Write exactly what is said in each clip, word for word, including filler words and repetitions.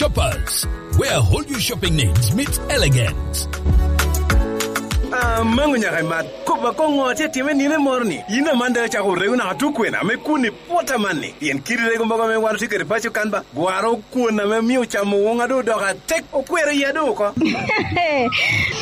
Shoppers, where wholesale shopping needs meet elegance. Amango nyaka i mat. Kop akoŋo atye atime nino moro ni? Yin aman daŋ acako orego naka tukwena ame kun i pwot amanni. Pien kidi rego mogo ame wan otye kede paco kan ba, gwaro kwon ame omio ocamo woŋa doŋ odoko atek, okwero iya doŋ oko.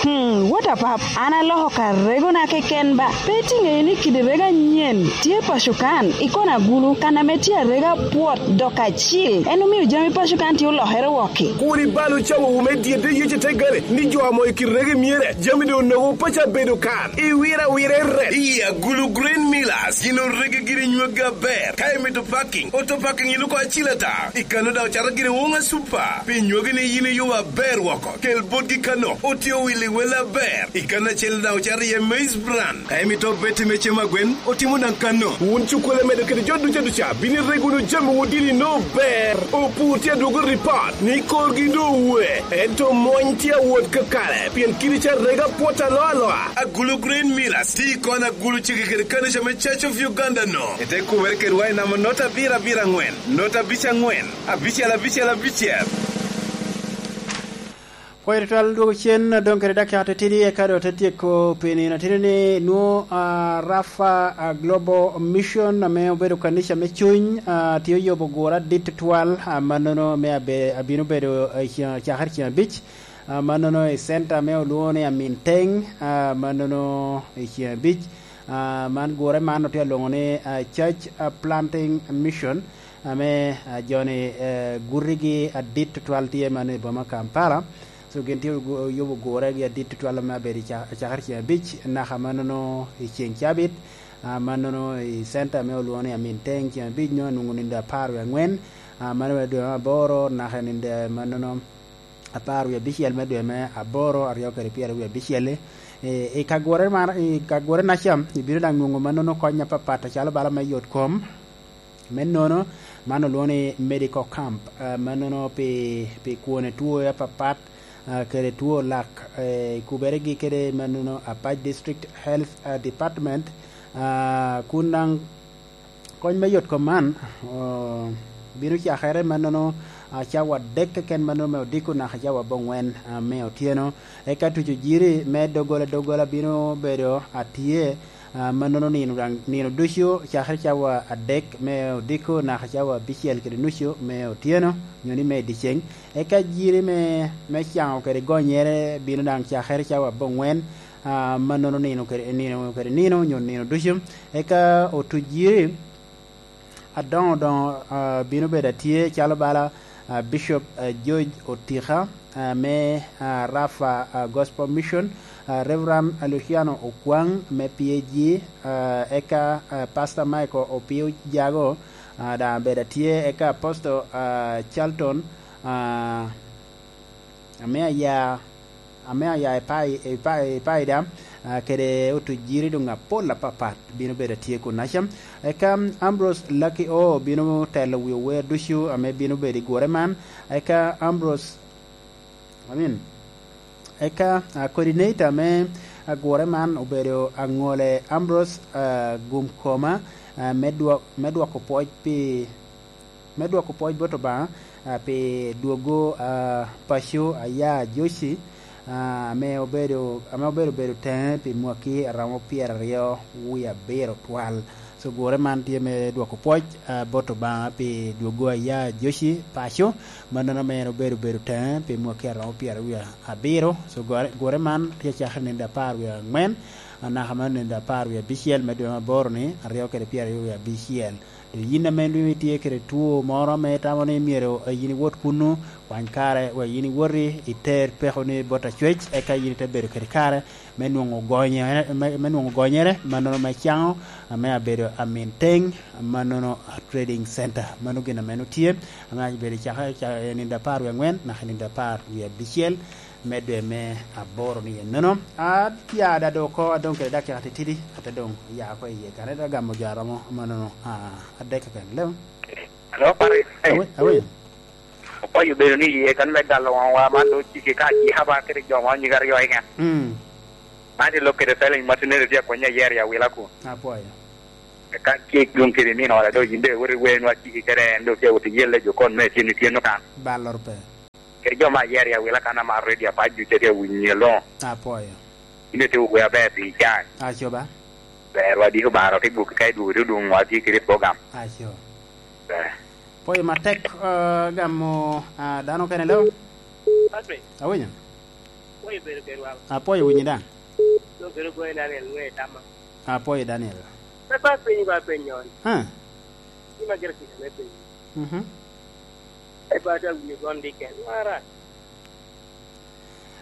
Hmm, what a pap? An aloko ka regona keken ba. Pe itiŋeyo ni kidi rego anyen tye paco kan, i kona agulu, kan ame tye arega pwot dok acil. En omio jami paco kan tye olokere wokki. Kur ibal ocawowu me dyedde yece te gare, ni jo amo i kit rego myere, jami doŋ onogo paco abedo kan. Iwiro awira i ret. I agulu Green Millers, gin orege giri nyweggi aber. Ka imito parking, auto parking iluko acil ata. I kano daŋ ocato giri woŋa super. Pi nywegi ni yin iyubo aber woko. Kel botgi kano, otye owil i wel aber. I kano acel daŋ ocato iye maize bran. Ka imito obeti me cem agwen, otimo daŋ kano. Wun cukkole medo kede jo duca duca, bino irego wunu jami wun dini no ber. Opur tye adwogo ripot ni korgi doŋ owe. Ento mony tye awot kakare, pien kidi ca rega pwot aloa aloa. Agulu Green Millers, ti kon agulu cege kede kanica me Church of Uganda no. Ete kumere kedwa i namba not abiro abiro aŋwen, not abic aŋwen, abicel abicel abicel. Pwoyo tutwal dwogo cen, doŋ kede dakika titidi eka doŋ te tyeko pi nino titidi ni nwo, ah, Rafa, ah, Global Mission ame obedo kanica me cuny, ah, tye oyubo gure adit tutwal, ah, mannono me abe-, abino bedo, eh, i cakere ceng abic, ah, mannono i center ame olwoŋo ni Aminteng, ah, mannono i ceng abic. Ah, man gure man otye alwoŋo ni, ah, Church, ah, Planting Mission, ame, ah, joni, eh, gutigi adit tutwal tye man i boma Kampala. So gin tye ogu-, oyubo guregi adit tutwal ame abedo i ca-, cakere ceng abic, naka mannono i ceng cabit, ah, mannono i center ame olwoŋo ni Aminteng ceng abic nyo anwoŋo nindo apar wie aŋwen, ah, mano bene dwe me aboro, naka i nindo mannono apar wie abicel me dwe me aboro, aryo kede pyeraryo wie abicel-li. I, i kagwore mar-, i kagwore naca, ibino daŋ nwoŋo mannono kony apapat, acalo bala me yot kom, me nono, man olwoŋo ni medical camp, ah, mannono pi, pi kwone two apapat, ah, kede two lak, eh, i kuberegi kede mannono Apac District Health, ah, Department, ah, kun daŋ kony me yot kom man, oh, bino cakere mannono, ah, cawa adek keken mannono me odiko naka cawa aboŋwen, ah, me otyeno. Eka tuco jiri me doggola doggola bino bedo atye, ah, mannono nino daŋ, nino ducu cakere cawa adek me odiko naka cawa abicel kede nucu me otyeno, nyo ni me dyeceŋ. Eka jiri me, me caŋo kede gonyere bino daŋ cakere cawa aboŋwen, ah, mannono nino kede, nino kede nino, nyo nino ducu. Eka otuc jiri adoŋo doŋo, ah, bino bedo atye calo bala, ah, Bishop, ah, George Otika, ah, me, ah, Rafa, ah, Gospel Mission, ah, Reverend Luciano Okwaŋ me P A G, ah, eka, ah, Pastor Michael Opio Jago, ah, daŋ abedo atye, eka Apostle, ah, Charlton, ah, ame aya, ame aya i Pai-, i Pai-, i Paida, ah, kede otuc jiri doŋ apol apapat bino bedo atye kunnaca. Eka Ambrose Lucky O bino telo wi ower ducu ame bino bedo i gure man. Eka Ambrose, I mean, eka, ah, coordinator me, ah, gure man obedo Aŋole Ambrose, ah, Gumkoma, ah, me dwok-, me dwoko pwoc pi me dwoko pwoc bot Obaŋa, ah, pi dwogo, ah, paco aya Joci, ah, ame obedo, ame obedo bedo teŋe pi mwaki a romo pyeraryo wie abiro twal. So, gure man tye me dwoko pwoc, ah, bot Obaŋa pi dwogo aya Joci paco, mannono ame en obedo bedo teŋe pi mwaki a romo pyeraryo wie abiro. So, gure, gure man tye cakere nino apar wie aŋwen, ah, naka ma nino apar wie abicel me dwe me aboro-ni, aryo kede pyeraryo wie abicel. Dok yin ame nwoŋo itye kede two moro ame itamo ni myero, eh, yin iwot kunnu, kwany kare wek yin iwoti iter pekoni bot acwec, eka yin ite bedo kede kare me nwoŋo gonyere, me, me nwoŋo gonyere, mannono me caŋo, ame abedo Aminteng, mannono Trading Center. Mano gin ame nwoŋo tye, ame abedo i caka, ca-, i nino apar wie aŋwen naka i nino apar wie abicel me dwe me aboro ni ennono. Atye ada doŋ oko, adong kede dakika titidi, ate doŋ oya oko iye. Kare te gamo jo a romo mannono, ah, adek keken. Leo? Alo, Paris. Awe, awe. Okwayo bedo ni iye kan me galo waŋwa man doŋ ciki ka ajiha ba kede jo ma onyige aryo keken. Mm. Man tye lok kede felony ma tinere tye akwenya yer i awila kun. Apwoyo. Ka cik dwoŋ kede nino ora doŋ yin doŋ iwot iwenwa ciki kede en doŋ tye wot iyelle jo kon me tyen ityen okan. Balloro pe. Jo me ayere i awila kan amaro redio apac ducu atye awinyo i aloŋo. Apwoyo. In itye ogwe aber pi can. Acoba. Ber wadiko baro te gwoki ka idwogo te odwoŋ wa tye kede program. Aco. Ber. Pwoyo matek, eh, gamo, ah, dano kene lo? Patrick. Awinyo. Pwoyo bedo kedwa. Apwoyo winyi daŋ. Lo bedo goyo Daniel ŋe tama. Apwoyo Daniel. Pe ba piny ba piny on. Ha. Gima gire kika me piny. Mhm. E ba ta winyo gon diken. Wara.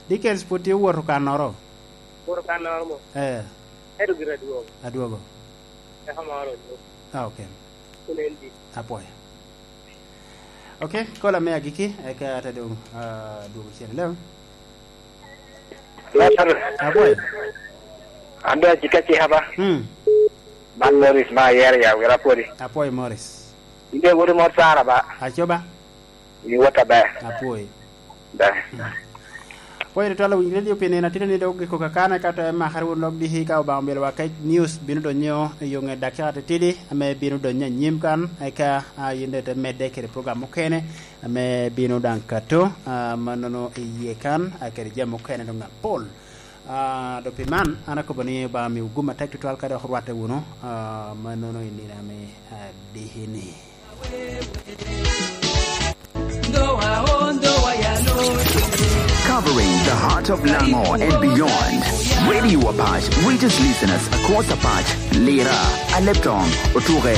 Dickens pwod tye owoto kannoro? Owoto kannoro mo. Eh. Ento gire adwogo. Adwogo. Eka moro odwogo. Ah, ok. Kun en dit. Apwoyo. Ok, kola me agiki, eka ate doŋ, ah, dwogo cen. Hello? Hello, sir. Apwoyo. An doŋ acika cika ba. Hmm. Man Morris ma ayero ya, wira pwodi. Apwoyo Morris. Inde wodi mot Sara ba. Acoba. Iwot aber. Apwoyo. Da. Apwoyo tutwal owinyo redio pi nino atino ni dok giko kakana, ka to emakere wun lok diki ka Obaŋa omyelo wa kec news bino donyo i yo ŋe dakika titidi ame bino donyo anyim kan, eka, a, yin daŋ ite medde kede program mukene ame bino daŋ kato, a, mannono i yie kan, a, kede jami mukene doŋ apol. Ah, do pi man, an akobo ni Obaŋa miwu gum atek tutwal ka dok orwatte wunu, ah, mannono i nino ame, ah, diki-ni. Covering the heart of Lango and beyond, Radio Apac reaches listeners across Apac, Lira, Aleptong, Otuke,